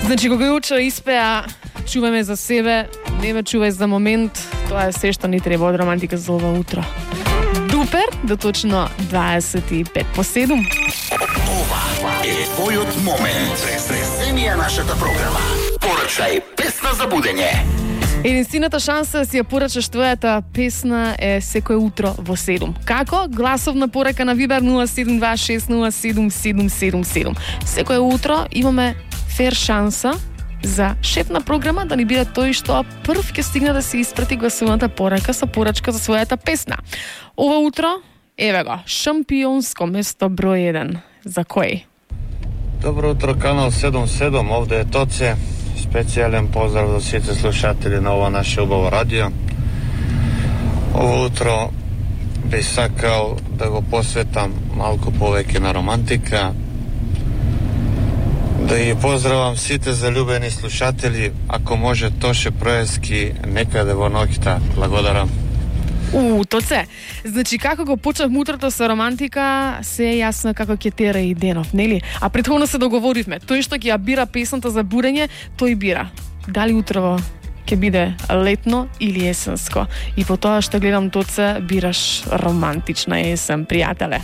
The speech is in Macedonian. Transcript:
Значи, кога Јучо испеа "Чувај ме за себе, не ме чувај за момент", тоа е се што ни треба од романтика за ова утро. Дупер до точно 25:07. Ова е твојот момент. Сресени е нашата програма. Порачај песна за будење. Единствената шанса да си ја порачаш твојата песна е секое утро во 7. Како? Гласовна порака на Вибер 0726077777. Секое утро имаме фер шанса за шеф на програма да ни биде тој што прв ќе стигне да се испрати гласовната порака со порачка за својата песна. Ова утро, еве го, шампионско место број 1. За кој? Добро утро, канал 77, овде е Тоце. Специјален поздрав за сите слушатели на ова наше убаво радио. Ово утро би сакал да го посветам малку повеќе на романтика. Да ги поздравам сите залюбени слушатели, ако може Тоше Проески некаде во ноќта. Благодарам. Тоце. Значи, како го почнавме утрото со романтика, се е јасно како ќе тера и денов, нели? А претходно се договоривме. Тој што ќе ја бира песната за будење, тој бира. Дали утрово ќе биде летно или есенско? И по тоа што гледам, Тоце, бираш романтична есен, пријателе.